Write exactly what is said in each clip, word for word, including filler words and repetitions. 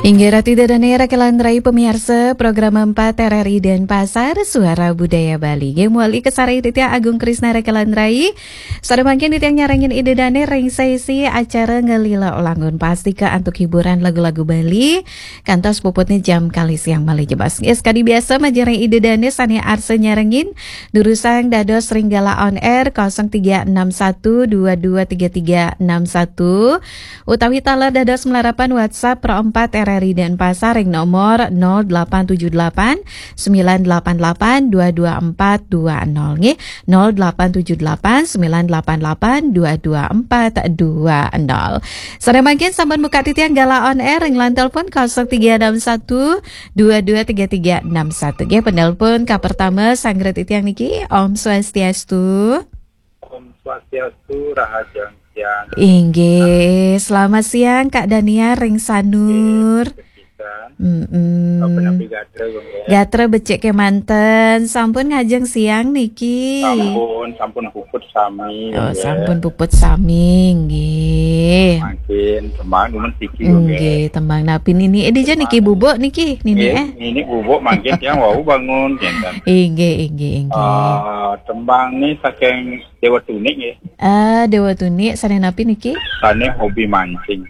Inggih ratu ida dané raka lan rai pamiarsa program empat R R I Denpasar, Suara Budaya Bali. Nggih, mawali kasarengin titiang Agung Krisna raka lan rai. Sané mangkin titiang nyarengin ida dané ring sesi acara Ngelila Langun, pastika antuk hiburan lagu-lagu Bali. Kantos puputnya jam kalih siang malih jebos. Nggih, sakadi biasa majeng ring ida dané sané arsa nyarengin, durusang dados ring galah on air kosong tiga enam satu dua dua tiga tiga enam satu. Utawi taler dados malarapan WhatsApp Pro empat R R I Denpasar ring nomor nol delapan tujuh delapan sembilan delapan delapan dua dua empat dua nol nggih, nol delapan tujuh delapan sembilan delapan delapan dua dua empat dua nol. Sané mangkin sampun buka titiang galah on air ring line telepon kosong tiga enam satu dua dua tiga tiga enam satu nggih, penelpon kapertama sanggra titiang niki. Om Swastiastu. Om Swastiastu, rahajeng siang. Inggih, selamat siang Kak Daniar ring Sanur. Inggih, kepisan. Mm-mm. Apa napi gatra, Gung, ya? Gatra becik kémanten, sampun ngajeng siang niki. Sampun, sampun puput sami, Oh, Gung, ya. Sampun puput sami, nggih. Mangkin tembang dumun siki, Gung, ya. Nggih, tembang napi nini? Eh, dija niki Tembang. Bubuk niki, nini, Nggih, eh? Nini bubuk mangkin tiang wau bangun, kinten. Inggih, inggih, inggih. Ah, tembang ni saking Dewa Tunik nggih. Ah, Dewa Tunik, sané napi niki? Sané hobi mancing.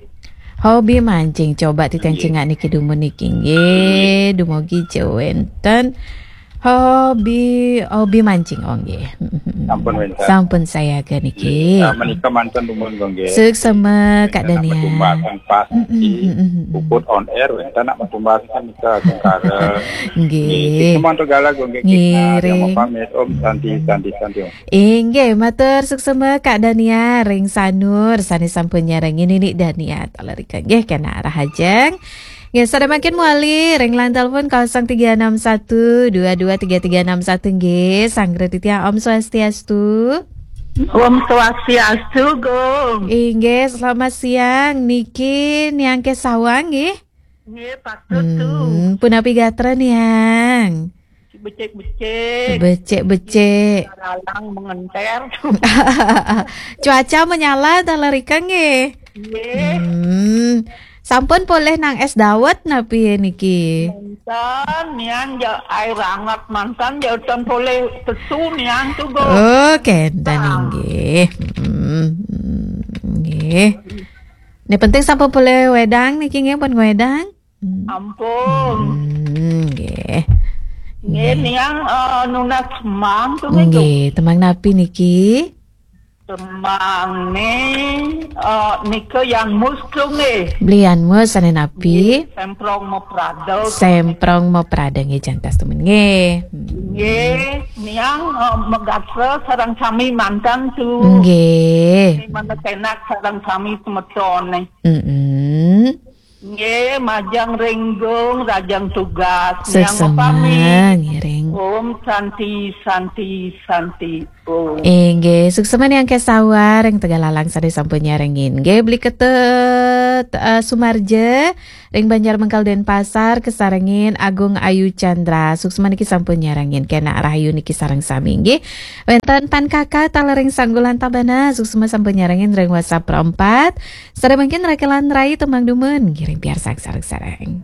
Hobi mancing. Coba titiang Nggih. Cingak niki dumun niki nggih. Nggih. Dumugi ja wénten. Hobi, hobi mancing, oh nggih. Sampun wénten. Sampun sayaga niki. Nggih. Ah, menika manten dumun, Gung, nggih. Suksma, Kak Wénten nak Daniar. Matumbasan pasti. Mm-mm, mm-mm. Puput on air wénten nak matumbasan nika, Gung, kara. Nggih. Nggih, sik semanto galah, Gung, nggih. Nggih, Kita yang ring. Mau pamit. Om Santi, Santi, Santi, Om. Inggih, matur suksma Kak Dania ring Sanur sané sampun nyarengin nini Dania taler rika nggih, kénak rahajeng. Nggih, sané mangkin mawali ring line telepon kosong tiga enam satu dua dua tiga tiga enam satu nggih, sanggra titiang Om Swastiastu. Om Swastiastu, Gung. Inggih, selamat siang niki Niang Kesawang nggih. Nggih, patut tu. Hmm, punapi gatra Niang? Becik-becik. Becik-becik. Lalang mengenter. Cuaca menyala taler rika nggih. Nggih. Hmm. Sampun polih nang es dawet napi niki? Manten, Niang, ja air anget manten, ja ten polih pesu Niang tu, Gung. Oh, kénten. Nah. Inggih. Hmm. Nggih. Ni penting sampun polih wédang niki nggih, pun wédang. Hmm. Ampun. Hmm, nggih. Nggih, nggih. Niang, eh, nunas tembang tu nggih, nggih, tembang napi niki? Tembang ni, eh, nika Yan Mus tu nggih. Beli Yan Mus sané napi? Nggih, Semprong Maprada tu. Semprong Maprada nggih, jantas temen nggih. Hmm. Nggih, Niang, eh, magatra sareng sami manten tu. Nggih. Di mana kénak sareng sami semetoné. Mm-mm. Nggih, majeng ring Gung, rahajeng tugas. Niang suksma, mapamit. Ngiring. Om Santi, Santi, Santi, Om. Inggih, suksma Niang Kesawang ring Tegalalang sané sampun nyarengin. Nggih, Beli Ketut, eh, Sumarja ring Banjar Mengkal Denpasar, kasarengin Agung Ayu Chandra. Suksma niki sampun nyarengin. Kénak rahayu niki sareng sami nggih. Wénten Pan Kaka taler ring Sanggulan Tabanan, suksma sampun nyarengin ring WhatsApp Pro empat. Sané mangkin raka lan rai tembang dumun, ngiring piarsang sareng-sareng.